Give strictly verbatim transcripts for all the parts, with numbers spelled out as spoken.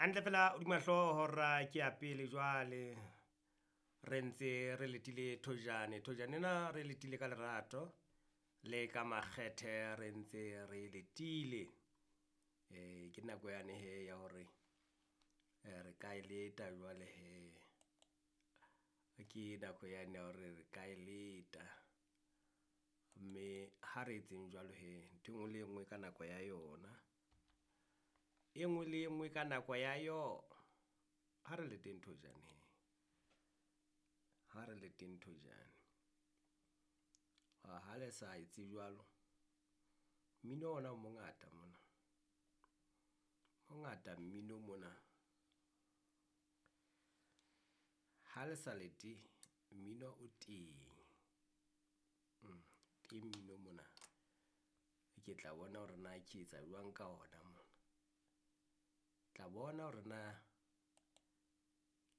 Hantle fela hodima hlooho hora ke ya pele jwale, re ntse re letile thojane. Thojane ena re letile ka lerato le ka makgethe re ntse re letile. Ke nako yane hee ya hore re ka e leta jwale hee, ke nako yane ya hore re ka e leta, mme ha re etseng jwalo hee ntho e ngwe le e ngwe ka nako ya yona, e ngwe le e ngwe ka nako ya yona. Ha re leteng thojane hee, ha re leteng thojane. Ha le sa etse jwalo, mmino ona o mongata mona, mongata mmino mona. Ha le sa lete mmino o teng, teng mmino mona. Ke tla bona hore na ke etsa jwang ka ona mona, tla bona hore na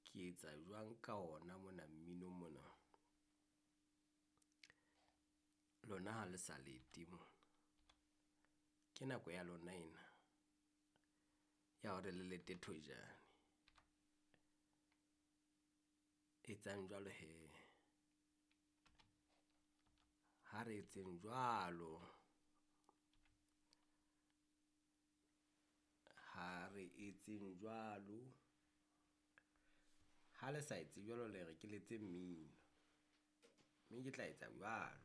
ke etsa jwang ka ona mona mmino mona. Lona ha le sa lete mona, ke nako ya lona ena ya hore le lete thojane. Etsang jwalo hee, ha re etseng jwalo, ha re etseng jwalo. Ha le sa etse jwalo, le re ke letse mmino, mme ke tla etsa jwalo.